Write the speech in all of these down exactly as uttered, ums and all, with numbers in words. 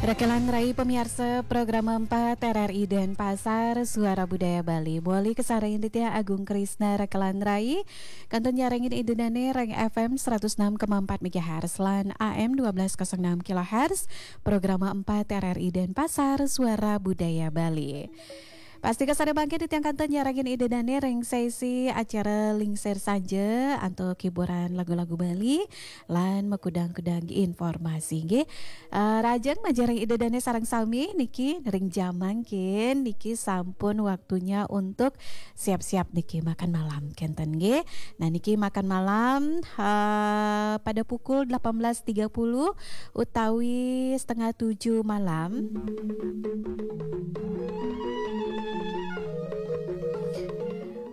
Rekelan Rai pemiarsa program empat R R I Denpasar, Suara Budaya Bali. Moli kasarengin titiang Agung Krisna Rekelan Rai. Kantun nyarengin Ida Dane ring F M seratus enam koma empat megahertz lan A M dua belas kosong enam kilohertz. Program empat R R I Denpasar, Suara Budaya Bali. Pastika sada mangkin titiang kantun nyarengin Ida Dane ring sesi acara Lingsir Sanja antuk hiburan lagu-lagu Bali lan makudang-kudang informasi nggih. Eh, rahajeng majeng ring Ida Dane sareng sami niki ring jam mangkin niki sampun waktunya untuk siap-siap niki makan malam kenten nggih. Nah niki makan malam, eh, pada pukul delapan belas tiga puluh utawi setengah tujuh malam.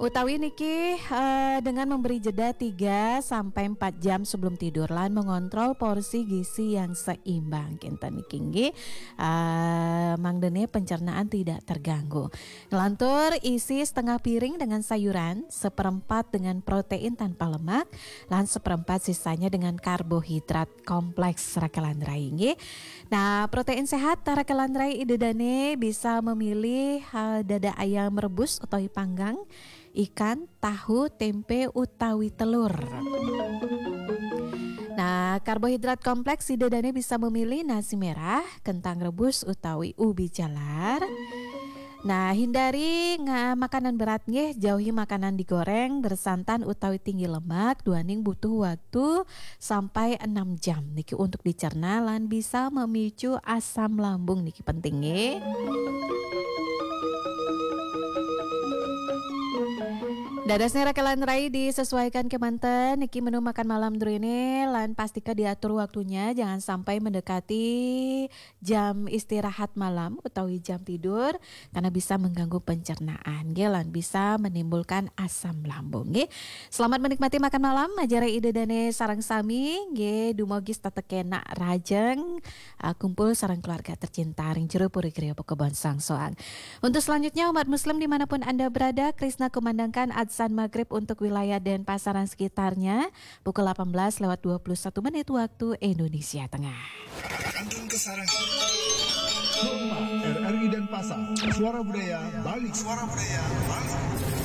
Utawi niki, eh, dengan memberi jeda tiga sampai empat jam sebelum tidur lan mengontrol porsi gizi yang seimbang. Kinten niki nggih, eh, mangdene pencernaan tidak terganggu. Ngelantur isi setengah piring dengan sayuran, seperempat dengan protein tanpa lemak, lan seperempat sisanya dengan karbohidrat kompleks Rekelan Rai nggih. Nah, protein sehat Rekelan Rai Ida Dane bisa memilih, eh, dada ayam rebus utawi panggang, ikan, tahu, tempe, utawi telur. Nah, karbohidrat kompleks Ida Dane bisa memilih nasi merah, kentang rebus, utawi ubi jalar. Nah, hindari nga-, makanan berat nggih, jauhi makanan digoreng, bersantan utawi tinggi lemak, duaning butuh waktu sampai enam jam niki untuk dicerna lan bisa memicu asam lambung niki penting nggih. Dadosne Rekelan Rai disesuaikan kemanten niki menu makan malam druene lan pastika diatur waktunya jangan sampai mendekati jam istirahat malam utawi jam tidur karena bisa mengganggu pencernaan nggih lan bisa menimbulkan asam lambung nggih. Selamat menikmati makan malam, majeng ring Ida Dane sareng sami nggih, dumugi setata kenak rahajeng, uh, kumpul sareng keluarga tercinta ring jero puri griya Pakebonan Soang. Untuk selanjutnya umat muslim dimanapun Anda berada, Krisna kumandangkan adzan maghrib untuk wilayah Denpasar dan sekitarnya pukul delapan belas lewat dua puluh satu menit waktu Indonesia Tengah. Kantun kasarengin. Rumah R R I Denpasar, Suara Budaya Bali. Suara Budaya Bali.